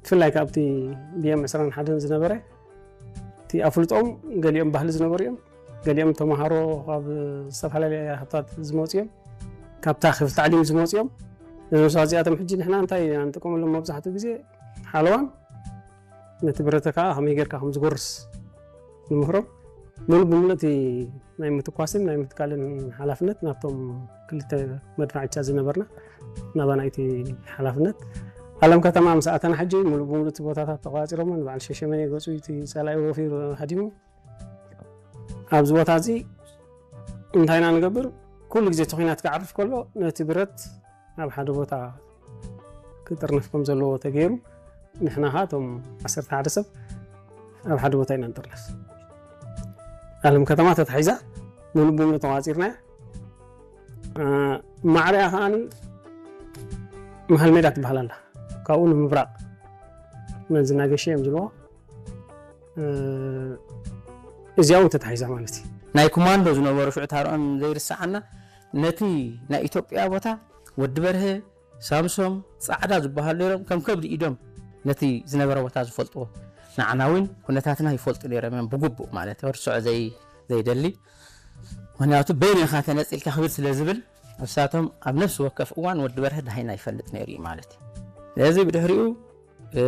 ብፍላይ ካብቲ ብኤም ዕስራን ሓደን ዝነበረ እቲ ኣፍልጦም ገሊኦም ባህሊ ዝነበሩ እዮም። ገሊኦም ተምሃሮ ካብ ዝተፈላለየ ሃብታት ዝመፁ እዮም። ካብታ ክፍል ታዕሊም ዝመፁ እዮም። እዞም ሰባት እዚኣቶም ሕጂ ንሕና እንታይ ኢና ንጥቀመሎም? መብዛሕትኡ ግዜ ሓለዋን ነቲ ብረተ ከዓ ከመይ ጌርካ ከም ዝጎርስ ንምህሮም። ሙሉእ ብሙሉእ እቲ ናይ ምትኳስን ናይ ምትካልን ሓላፍነት ናብቶም ክልተ መድፋዕቻ ዝነበርና ናባና እቲ ሓላፍነት። ኣለም ከተማ ምስ ኣተና ሕጂ ሙሉእ ብሙሉእ እቲ ቦታታት ተቋፂሮምን በዓል ሸሸመኔ ገፁ እቲ ፀላኢ ወፊሩ ሃዲሙ። ኣብዚ ቦታ እዚ እንታይ ኢና ንገብር? ኩሉ ግዜ እቲ ኲናት ክዓርፍ ከሎ ነቲ ብረት ኣብ ሓደ ቦታ ክጥርነፍ ከም ዘለዎ ተገይሩ፣ ንሕና ኸዓ እቶም ዓሰርተ ሓደ ሰብ ኣብ ሓደ ቦታ ኢና ንጥርነፍ። ኣለም ከተማ ተታሒዛ፣ ሙሉእ ብሙሉእ ተቋፂርናያ። እ፣ ማዕሪኣ ኸዓ መሃል ሜዳ ትበሃል ኣላ። ካብኡ ንምብራቕ መንዝናገሸ እዮም ዝብልዎ። እ፣ እዚኣ እውን ተታሒዛ ማለት እዩ። ናይ ኮማንዶ ዝነበሩ ሽዑ ታርኦም ዘይርስዓና፣ ነቲ ናይ ኢትዮጵያ ቦታ ወዲ በርሀ፣ ሳምሶም፣ ጻዕዳ ዝበሃሉ ነይሮም፣ ከም ከብዲ ኢዶም ነቲ ዝነበረ ቦታ ዝፈልጥዎ። ንዓና እውን ኩነታትና ይፈልጡ ነይሮም እዮም ብግቡእ ማለት ርስዖ ዘይ-፣ ዘይደሊ። ምኽንያቱ በይንኻ ተነጺልካ ክብል ስለ ዝብል፣ ንሳቶም ኣብ ነፍሲ ወከፍ እዋን ወዲ በርሀ ደሃይና ይፈልጥ ነይሩ እዩ ማለት እዩ። ስለዚ ብድሕሪኡ፣ እ፣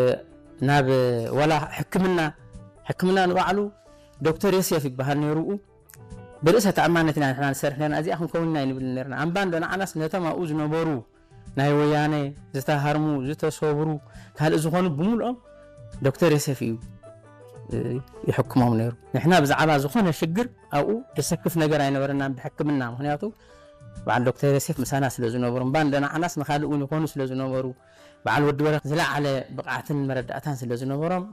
ናብ ወላ ሕክምና፣ ሕክምና ንባዕሉ ዶክተር ዮሴፍ ይበሃል ነይሩ። ብርእሰ ተኣማንነት ኢና ንሕና ንሰርሕ ነርና፣ እዚኣ ክንከውን ኢና ይንብል ነርና። እምባ እንዶ ንዓናስ ነቶም ኣብኡ ዝነበሩ ናይ ወያነ ዝተሃርሙ፣ ዝተሰብሩ፣ ካልእ ዝኾኑ ብምልኦም ዶክተር ዮሴፍ እዩ፣ እ፣ ይሕክሞም ነይሩ። ንሕና ብዛዕባ ዝኾነ ሽግር ኣብኡ ዘሰክፍ ነገር ኣይነበረናን ብሕክምና። ምኽንያቱ በዓል ዶክተር ዮሴፍ ምሳና ስለ ዝነበሩ፣ እምባ እንዶ ንዓናስ ንኻልእ እውን ይኾኑ ስለ ዝነበሩ፣ በዓል ወዲ በረኸት ዝለዓለ ብቕዓትን መረዳእታን ስለ ዝነበሮም፣